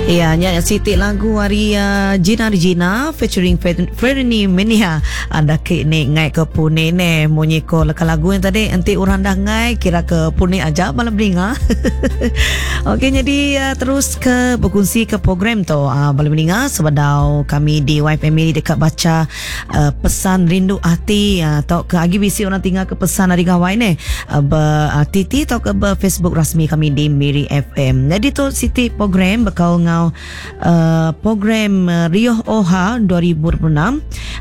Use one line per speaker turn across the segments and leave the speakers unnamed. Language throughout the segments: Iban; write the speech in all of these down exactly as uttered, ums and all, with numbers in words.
Ya, nya siti lagu ari uh, Gina Regina featuring Fernie Menia. Anda ke ni ngai ke puni ne munyi ko leka lagu yang tadi enti orang dah ngai kira ke puni aja malam beringa. Okey, jadi uh, terus ke berkongsi ke program tu uh, bala mendengar sebedau kami di Y F M ini dekat baca uh, pesan rindu hati uh, atau ke agi bisi orang tinggal ke pesan hari gawai ni uh, ber uh, T T atau ke ber Facebook rasmi kami di Miri F M. Jadi tu siti program bekau ngau uh, program uh, Riuh Oha dua ribu dua puluh enam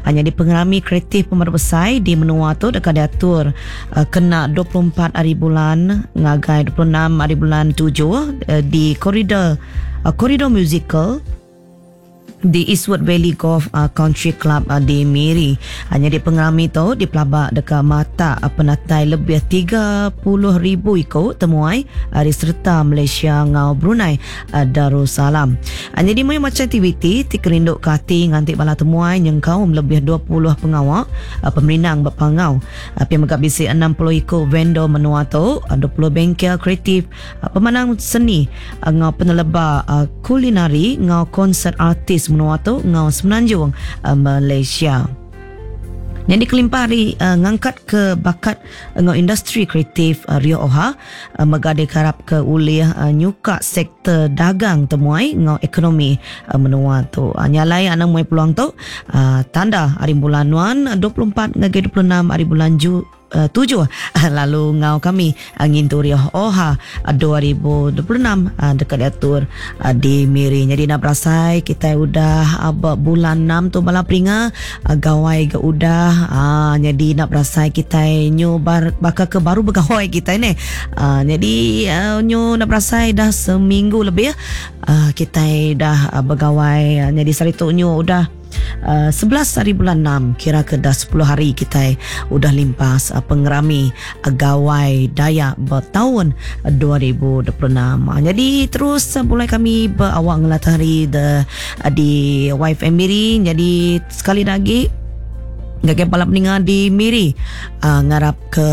hanya di pengerami kreatif pemerintah besar di menua tu dekat diatur uh, kena dua puluh empat hari bulan ngagai dua puluh enam hari bulan tujuh uh, di koridor uh, koridor musical di Eastwood Valley Golf uh, Country Club uh, di Miri. Hanya di pengerami tu di pelabak dekat mata uh, penatai lebih tiga puluh ribu ikut temuai uh, di serta Malaysia ngau Brunei uh, Darussalam. Hanya di macam aktiviti ti kerinduk ke hati nganti bala temuai yang kaum lebih dua puluh pengawak uh, pemerindang berpangau. Uh, Pihak megak bisi enam puluh ikut vendor menua tu, uh, dua puluh bengkel kreatif, uh, pemanang seni uh, ngau peneleba uh, kulinari ngau konsert artis menua tu ngau Semenanjung uh, Malaysia. Yang dikelimpah hari uh, ngangkat ke bakat ngau industri kreatif uh, Rio Oha uh, megade karap ke ulih uh, nyuka sektor dagang temuai ngau ekonomi uh, menua tu. Uh, nyalai anak muai peluang tu uh, tanda hari bulan nuan dua puluh empat ngagai dua puluh enam hari bulan Ju uh, tujuh lalu ngau kami uh, ngintu Rio Oha uh, dua ribu dua puluh enam uh, dekat diatur uh, di Miri. Jadi nak berasai kita udah uh, bulan enam tu bala peringa uh, gawai ke udah uh, jadi nak berasai kita nyu bar, bakal ke baru bergawai kita ni. Uh, jadi uh, nyu nak berasai dah seminggu lebih uh, kita dah uh, bergawai. Uh, jadi sehari tu nyu udah Uh, sebelas hari bulan enam, kira ke dah sepuluh hari kita udah limpas uh, pengerami uh, Gawai Dayak bertahun uh, dua ribu dua puluh enam. Uh, jadi terus uh, mulai kami berawak ngelatari the, uh, di Y F M Miri. Jadi sekali lagi ngagai bala peninggal di Miri uh, ngarap ke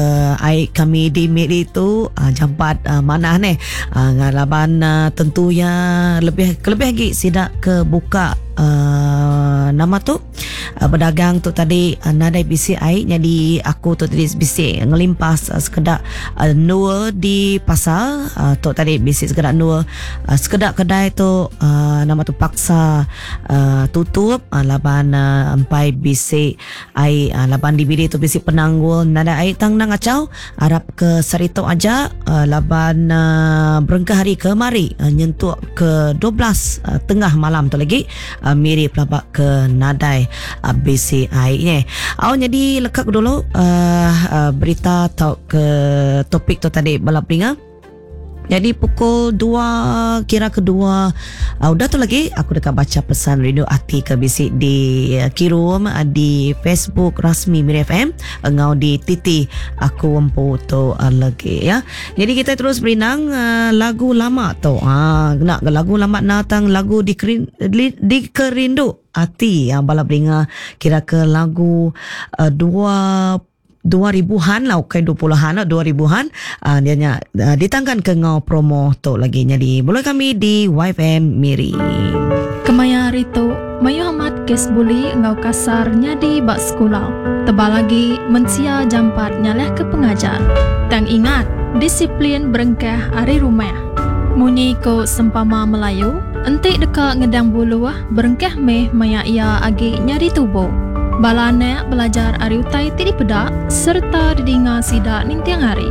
air kami di Miri tu uh, jampat uh, mana ni uh, ngalaban uh, tentu ya lebih kelebih lagi sidak ke buka uh, nama tu uh, berdagang tu tadi uh, nadai B C I. Jadi aku tu tadi B C ngelimpas uh, sekedak uh, nur di pasar uh, tu tadi B C sekedak nur uh, sekedak kedai tu uh, nama tu paksa uh, tutup uh, laban uh, empai B C ai uh, laban di bilik tu B C penanggul nada ai tang nang acau harap ke serito aja uh, laban uh, berengkah hari kemari uh, nyentuk ke dua belas uh, tengah malam tu lagi uh, Miri pelabak ke nadai uh, B C I ni. Aw, jadi lekak dulu uh, uh, berita atau ke topik tu tadi balap ringa. Jadi pukul dua, kira kedua uh, udah tu lagi aku dekat baca pesan rindu hati ke bisik di uh, kirum uh, di Facebook rasmi Miri F M ngau di T T aku empu tu uh, lagi ya. Jadi kita terus berinang uh, lagu lama tu. Ha, nak lagu lama natang lagu dikerin, di, dikerindu hati yang bala beringa kira ke lagu uh, dua dua ribuan lah, bukan dua puluhan lah, dua ribuan uh, dia nya uh, ditangkan ke ngau promo tu lagi. Jadi boleh kami di Y F M Miri.
Kemaya hari tu, mayu amat kes buli ngau kasar nyadi bak sekolah. Tebal lagi, mensia jampat nyalah ke pengajar. Tang ingat, disiplin berengkah ari rumah. Munyi ko sempama Melayu, entik dekat ngedang bulu berengkah meh maya ia agi nyadi tubuh. Bala anak belajar ari utai ti dipedak serta didinga sidak nintiang hari.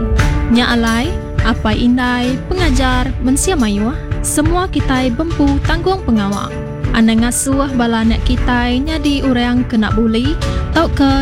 Nya alai, apa indai, pengajar, mensia mayuh, semua kita bempu tanggung pengawak. Anak ngasuh bala anak kita nyadi orang kena buli, tau ke